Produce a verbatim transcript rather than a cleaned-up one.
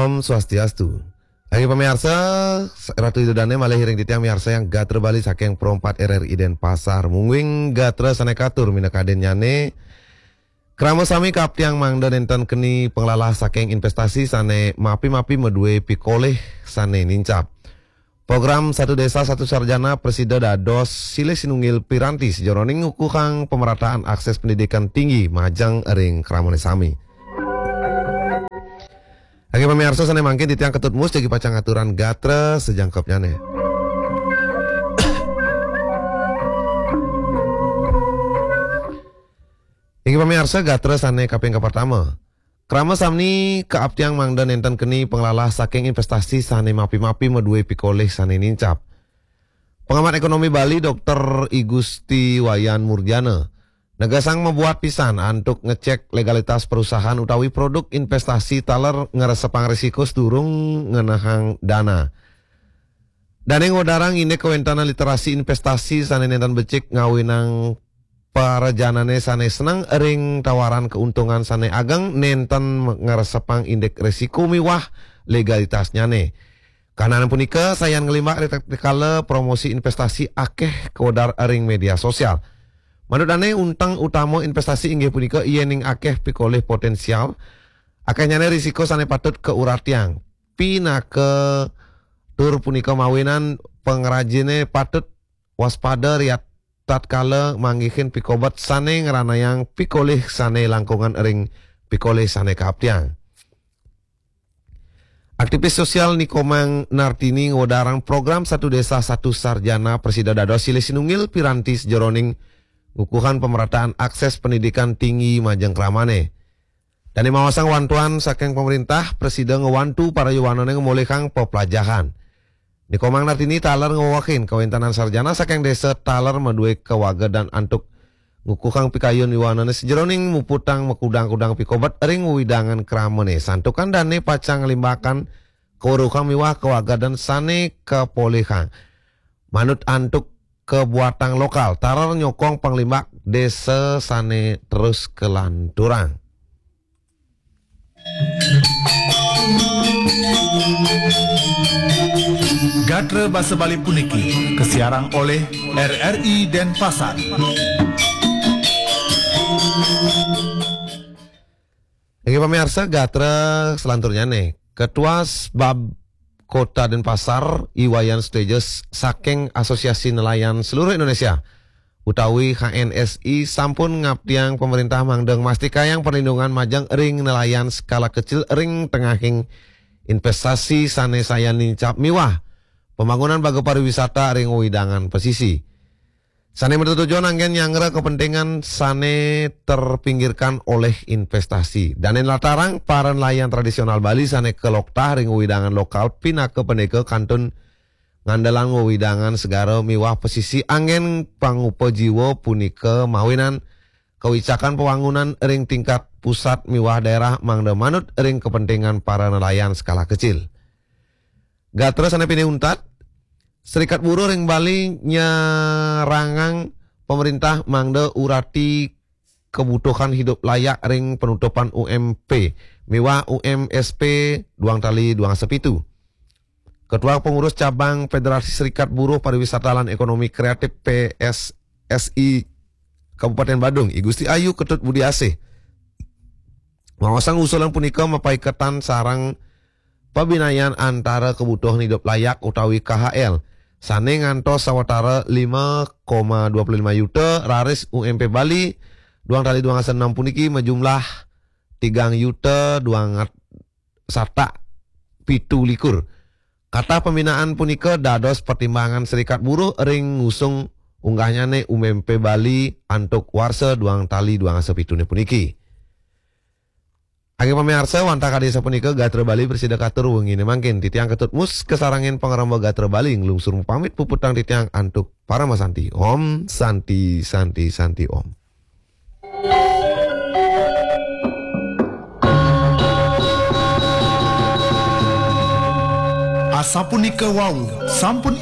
Om Swastiastu. Inggih pamiarsa, Ratu Ida Dane malih ring titiang miarsa yang gatra Bali saking Pro empat R R I Denpasar. Mungguing gatra sane katur minakadinnyane, krama sami kaaptiang mangda nenten keni panglalah saking investasi sane mapi-mapi madue pikolih sane nincap. Program Satu Desa Satu Sarjana prasida dados silih sinunggil piranti sajeroning ngukuhang pemerataan akses pendidikan tinggi majeng ring kramane sami. Inggih pamiarsa sane mangkin titiang Ketut Mus jagi pacang aturang gatra sajangkepnyane. Inggih pamiarsa gatra sane kaping kapertama. Krama sami kaaptiang mangda nenten keni panglalah saking investasi sane mapi-mapi madue pikolih sane nincap. Pengamat ekonomi Bali Doktor I Gusti Wayan Murjana negasang mabuat pisan antuk ngecek legalitas perusahaan utawi produk investasi taler ngresepang risiko sadurung ngenehang dana. Dane ngwedarang indik kawentanan literasi investasi sane nenten becik ngawinang parajanane sane seneng ring tawaran keuntungan sane ageng nenten ngresepang indik risiko miwah legalitasnyane. Kahanan punika sayan nglimbak ri tatkala promosi investasi akeh kawedar ring media sosial. Manut dane, unteng utama investasi inggih punika yening akeh pikolih potensial, akehnyane risiko sane patut kauratiang. Pinaka tur punika mawinan pangrajine patut waspada ri tatkala manggihin pikobet sane ngranayang pikolih sane langkungan ring pikolih sane kaaptiang. Aktivis sosial Ni Komang Nartini ngwedarang program Satu Desa Satu Sarjana prasida dados silih sinunggil piranti sajeroning ngukuhang pemerataan akses pendidikan tinggi majeng kramane. Dane maosang wantuan saking pemerintah, prasida ngwantu para yuwanane ngamolihang peplajahan. Ni Komang Nartini taler ngwewehin kawentanan sarjana saking desa taler madue kawagedan antuk ngukuhang pikayun yuwanane sajeroning muputang makudang-kudang pikobet ring wewidangan kramane. Santukan dane pacang nglimbakan kaweruhan miwah kawagedan sane kapolihang. Manut antuk kabuatang lokal, taler nyokong panglimbak desa sane terus kalanturang. Gatra basa Bali puniki kasiarang olih R R I Denpasar. Inggih pamiarsa, gatra selanturnyane, Ketua Sbab Kota Denpasar, I Wayan Suteja, saking Asosiasi Nelayan Seluruh Indonesia utawi H N S I, sampun ngaptiang pemerintah mangda ngmastikayang perlindungan majeng ring nelayan skala kecil ring tengahing investasi sane sayan nincap miwah pembangunan baga pariwisata ring wewidangan pesisi. Sane matetujon anggen nyanggra kepentingan sane terpinggirkan olih investasi. Dane nlatarang para nelayan tradisional Bali sane kaloktah ring wewidangan lokal pinaka pendeka kantun ngandelang wewidangan segara miwah pesisi anggen pangupa jiwa punika mawinan kawicakan pawangunan ring tingkat pusat miwah daerah mangda manut ring kepentingan para nelayan skala kecil. Gatra sane pinih untat, Serikat Buruh ring Bali nyarangang pemerintah mangda urati kebutuhan hidup layak ring penutupan U M P miwah U M S P duang tali duang dasa pitu. Ketua Pengurus Cabang Federasi Serikat Buruh Pariwisata lan Ekonomi Kreatif P S S I Kabupaten Badung, I Gusti Ayu Ketut Budi Asih, maosang usulan punika mapaiketan sareng pabinayan antara kebutuhan hidup layak utawi K H L sane ngantos sawatara lima koma dua puluh lima yuta, raris U M P Bali duang tali duang dasa enam puniki majumlah tigang yuta duang satak pitu likur. Katah pembinaan punika dados pertimbangan Serikat Buruh ring ngusung unggahnyane U M P Bali antuk warsa duang tali duang dasa pitune puniki. Inggih pamiarsa, wantah kadi sapunika gatra Bali prasida katur wengine mangkin. Titiang Ketut Mus kasarengin pangremba gatra Bali nglungsur pamit puputang titiang antuk parama santi. Om Santi, Santi, Santi Om. Asapunika wau, sampun